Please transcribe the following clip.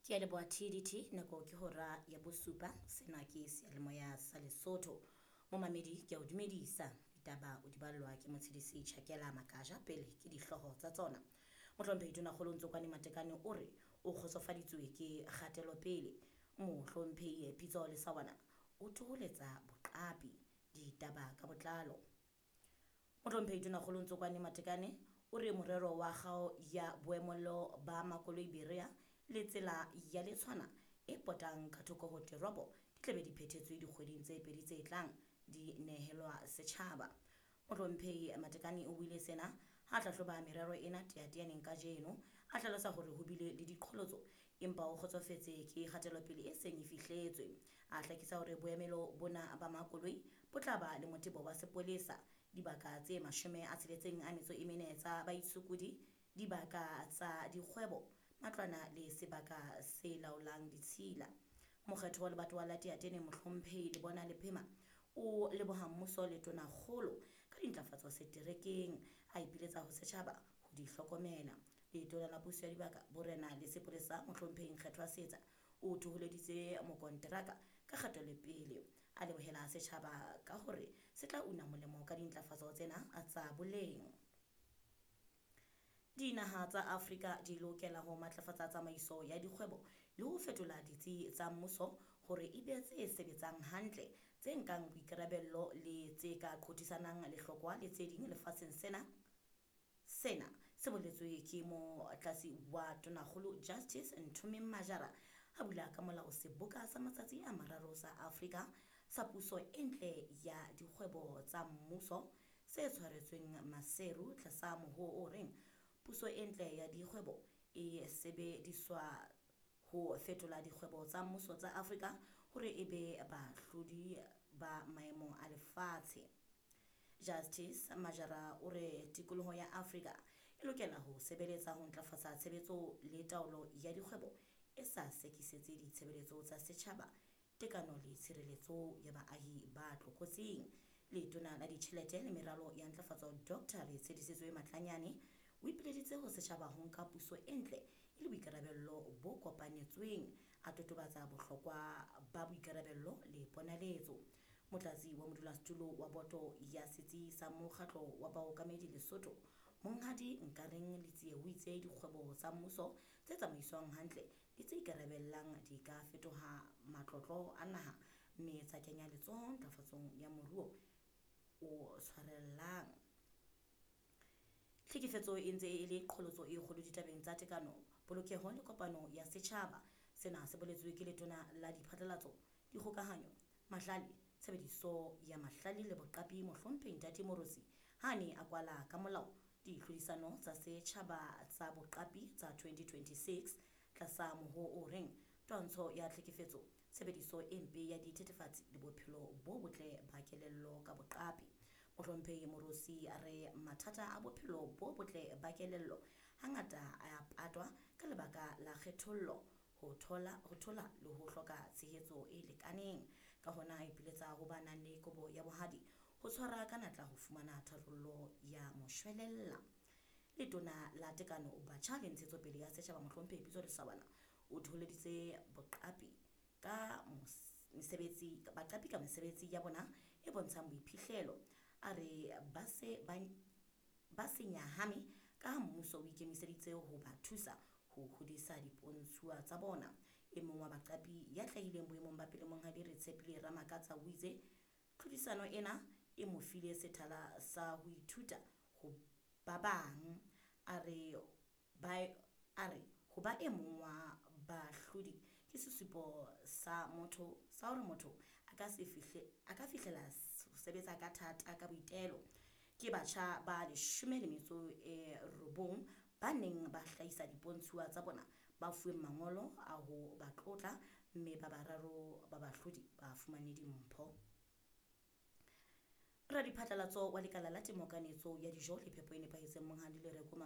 Ke a leboha TDT nako ke hora ya bosupa sena ke seyalemoya sa Lesotho. Momamedi ke a o dumedisa ditaba o di ballwa ke Motshedisi Tjhakela Makaja pele ke dihlooho tsa tsona. Mohlomphehi Tonakgolo Ntsokwane Matekane o re o kgotsofaditswe ke kgatelopele. Mohlomphehi Pitso Lesawana o thoholetsa boqapi ditaba ka botlalo. Mohlomphehi Tonakgolo Ntsokwane Matekane o re morero wa kgao ya boemelo ba makoloi Berea le tsela ya Letshwana e potang ka thoko ho teropo di tlabe di phethetswe dikgweding tse pedi tse tlang di nehelwa setjhaba. Mohlomphehi Matekane o buile sena ha hlahloba merero ena teateaneng kajeno a hlalosa hore ho bile le diqholotso empa o kgotsofetse ke kgatelopele e seng e fihletswe. A hlakisa hore boemelo bona ba makoloi bo tla ba le motebo wa sepolesa dibaka tse 64 tsa baitshokodi, dibaka tsa dikgwebo, matlwana le sebaka se laolang ditshila. Mokgetho wa lebatowa la Teatene Mohlomphehi Lebona Lephema o leboha mmuso le tonakgolo ka dintlafatso seterekeng a ipiletsa ho setjhaba ho di hlokomela. Letona la puso ya dibaka borena le sepolesa Mohlomphehi Nkgethwa Setsa o thoholeditse mokonteraka ka kgatelopele a lebohela setjhaba ka hore se tla una molemo ka dintlafatso tsena tsa boleng. Dinaha tsa Afrika di lokela ho matlafatsa tsamaiso ya dikgwebo le ho fetola ditsi tsa mmuso hore e be tse sebetsang hantle, tse nkang boikarabello le tse ka qothisanang lehlokwa le tse ding lefatsheng sena. Sena se boletswe ke motlatsi wa Tonakgolo Justice Nthomeng Majara a bula ka molao seboka sa matsatsi a mararo sa Afrika sa puso e ntle ya dikgwebo tsa mmuso se tshwaretsweng Maseru tlasa mohoo o reng puso e ntle ya dikgwebo e sebediswa ho fetola dikgwebo tsa mmuso tsa Afrika hore e be bahlodi ba maemo a lefatshe. Justice Majara o re tikoloho ya Afrika e lokela ho sebeletsa ho ntlafatsa tshebetso le taolo ya dikgwebo e sa sekisetse ditshebeletso tsa setjhaba, tekano le tshireletso ya baahi ba tlokotsing. Letona la ditjhelete le meralo ya ntlafatso Dr. Retshedisitswe Matlanyane o ipileditse ho setjhaba ho nka puso e ntle e le boikarabello bo kopanetsweng, a totobatsa bohlokwa ba boikarabello le ponaletso. Motlatsi wa modulasetulo wa boto ya setsi sa mokgatlo wa baokamedi Lesotho, Monghadi Nkareng Letsie o itse dikgwebo tsa mmuso tse tsamaiswang hantle le tse ikarabellang di ka fetoha matlotlo a naha mme tsa kenya letsoho ntlafatsong ya moruo o tshwarellang. Tlhekefetso e ntse e le qholotso e kgolo ditabeng tsa tekano, polokeho le kopano ya setjhaba. Sena se boletswe ke letona la diphatlalatso, dikgokahanyo, mahlale, tshebediso ya mahlale le boqapi Mohlomphehi Ntate Moorosi ha a ne a kwala ka molao ditlhodisano tsa setjhaba tsa boqapi tsa 2026 tlasa mohoo o reng twantsho ya tlhekefetso, tshebediso e mpe ya dithethefatsi le bophelo bo botle ba kelello ka boqapi. Mohlomphehi Moorosi a re mathata a bophelo bo botle ba kelello hangata a patwa ka lebaka la kgethollo, ho thola le ho hloka tshehetso e lekaneng. Ka hona a ipiletsa ho ba nang le kobo ya bohadi ho tshwara ka natla ho fumana tharollo ya moshwelella. Letona la Tekano, Batjha le Ntshetsopele ya Setjhaba Mohlomphehi Pitso Lesawana o thoholeditse boqapi ka mesebetsi baqapi ka mesebetsi ya bona e bontshang boiphihlelo. A re ba se nyahame ka ha mmuso o ikemiseditse ho ba thusa ho hodisa dipontshuwa tsa bona. E mong wa baqapi ya hlahileng boemong ba pele Monghadi Retshepile Ramakatsa o itse tlhodisano ena e mo file sethala sa ho ithuta ho ba bang. A re ho ba e mong wa bahlodi ke sesupo sa motho sa hore motho a ka fihlela ho sebetsa ka thata ka boitelo. Ke batjha ba 19 ba neng ba hlahisa dipontshuwa tsa bona ba fuweng mangolo a ho ba tlotla mme ba bararo ba bahlodi ba fumane dimpho. Radiphatlalatso wa lekala la temo kanetso ya dijo le phepo e nepahetseng Monghadi Lereko